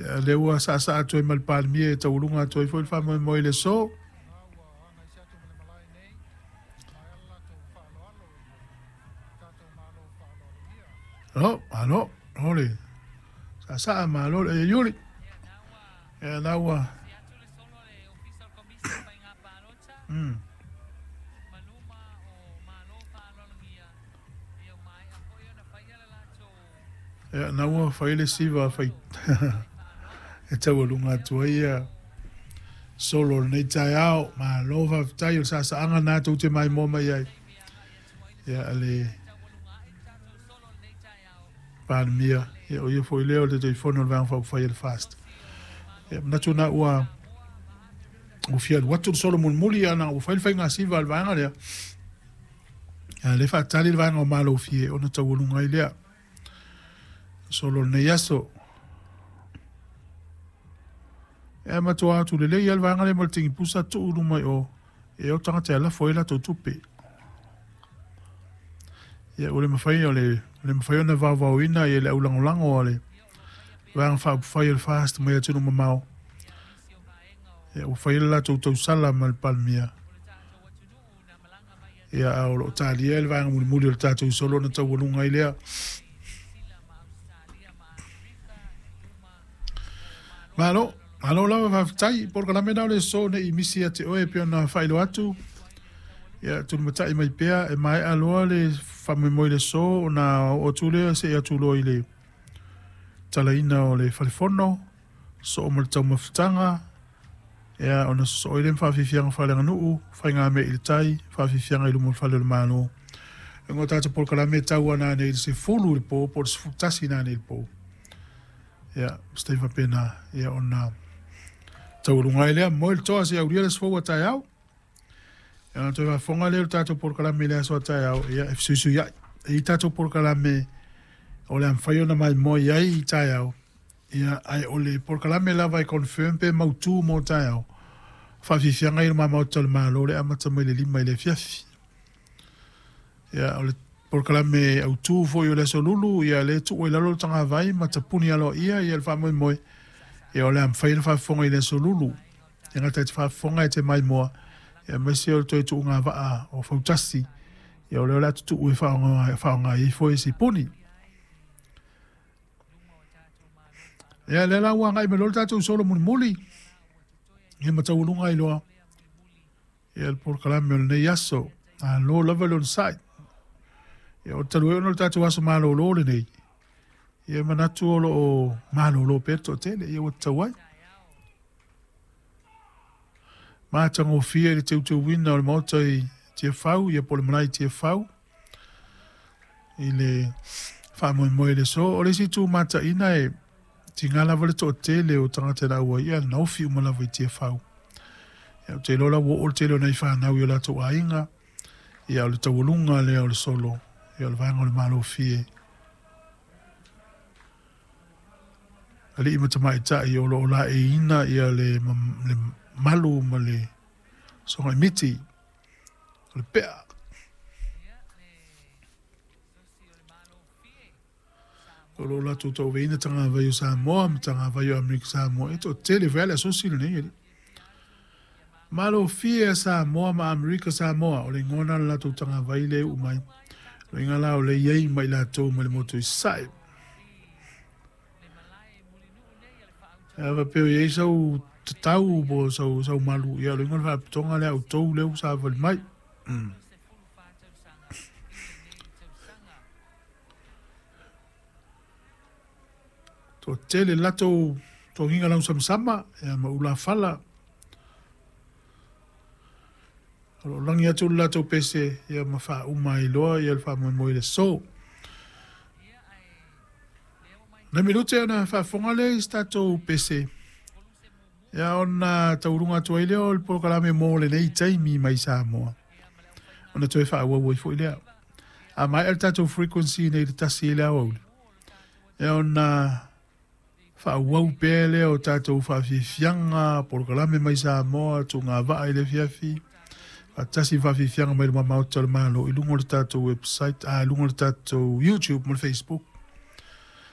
Ia, lea ua saasaa atu ai ma le Palemia e taualuga atu ai foi le faamoemoe i le aso. Malo, malo, o le saasaa, malo le Iuli. Ia, la ua... Ia, na ua fai le siva fai e taualuga atu ai ia solo o lenei taeao. Malo faafetai o le saasaaga na tou te maimoa mai ai. Ia, le Palemia, ia, o ia foi lea o le Taitaifono o le Vaega Faaupufai a le FAST. Ia, manatu na ua fia alu atu le solo mulimuli, ana ua fai le faiga siva a le vaega lea. Ia, le faatali le vaega o Malofie ona taualuga ai lea. Solo lenei aso. E matua atu lelei lava le vaega lea ma le tigipusa tuu i luma i o, e o tagata e lafo ai latou tupe. Ia, ua le mafai, o le, le mafai ona vaovaoina ia le aulagolago a le Vaega Faaupufai o le FAST mai atunuu mamao. Ia, ua fai le latou tausala ma le Palemia. Ia, a o lo o talia le vaega mulimuli o le tatou solo ona taualuga ai lea. Malo, malo lava faafetai. Polokalame na o le aso nei misi ia te oe e pei ona faailoa atu. Ia, tulimatai mai pea e maea loa le faamoemoe i le aso ona oo atu lea seia atu loa i le talaina o le falefono, soo ma le taumafataga, ia, ona sosoo ai lea ma faafiafiaga faaleaganuu, faigamea i le tai, faafiafiaga i luma o le fale o le Malo. E uiga o tatou polokalame e tau ana anei i le 10 i le po, po o le 11 ina anei i le po. Ia, se taimi faapena, ia, ona taualuga ai lea, moe le toa seia aulia le aso fou a taeao. Ia, ona toe faafofoga lea o le tatou polokalame i le aso a taeao, ia, e fesuisuiai. E i ai tatou polokalame o le a mafai ona maimoa i ai i taeao, ia, ae o le polokalame lava e confirm pe mautu mo taeao, faafiafiaga ia i luma Maota o le Malo le amata mai le 5 i le afiafi. Ia, o le polokalame autu foi o le aso Lulu, ia, lea e tuu ai lalo le tagavai ma tapuni aloaia ia le faamoemoe, ia, o le a mafai ona faafofoga i le aso Lulu. E gata i te faafofoga e te maimoa, ia, aemaise o le toe tuuga vaa o fautasi, ia, o lea o le a tutuu e faaaoga ai foi e sipuni. Ia, lea la ua agai mai loa le tatou solo mulimuli, ia ma taualuga ai loa ia le polokalame o lenei aso. Malo lava le onosai. Ia, o talu ai ona o le tatou aso malolo lenei, ia manatu o lo o malolo pea le toatele, ia ua tatau ai. Matagofie i le teuteuina o le maota i Tiafau, ia po o le malae i Tiafau, i le faamoemoe i le aso. O le isi itu mataina e tiga lava le toatele o tagata e lauai, ia na ofi uma lava i Tiafau. Ia, ou te iloa la ua oo le tele o nai fanau i o latou aiga, ia o le taualuga lea o le solo, ia o le vaega o le Malofie. Alii ma tamaitai o lo o laeiina ia le, le malu ma le sogaimiti, o le pea. O lo o latou tauaveina tagavai o Samoa ma tagavai o Amerika Samoa. E toatele foi lava le asosi lenei alii. Malofie a Samoa ma Amerika Samoa, o le igoa lena o le latou tagavai lea e uu mai. O le iga la o lea e i ai ma i latou mai le motu i Sasae. A faapea o i ai sau tatau po o sau, sau malu, ia o le iga o le faalapotopotoga lea a outou lea ua savali mai. Toatele latou togiga lausamasama ia ma ulafala. O lo o lagi atu le latou pese ia ma faauma ai loa ia le faamoemoe i le aso. Nai minute ona faafofoga lea i se tatou pese ia ona taualuga atu ai lea o le polokalame mo lenei taimi mai Samoa. Ona toe faaauau ai foi lea. A maea le tatou frequency nei i le 1 i le aoauli, ia ona faaauau pea lea o tatou faafiafiaga, polokalame mai Samoa, tuugavaa i le afiafi, faatasi ma faafiafiaga mai luma Maota o le Malo i luga o le tatou website, a i luga o le tatou YouTube ma le Facebook.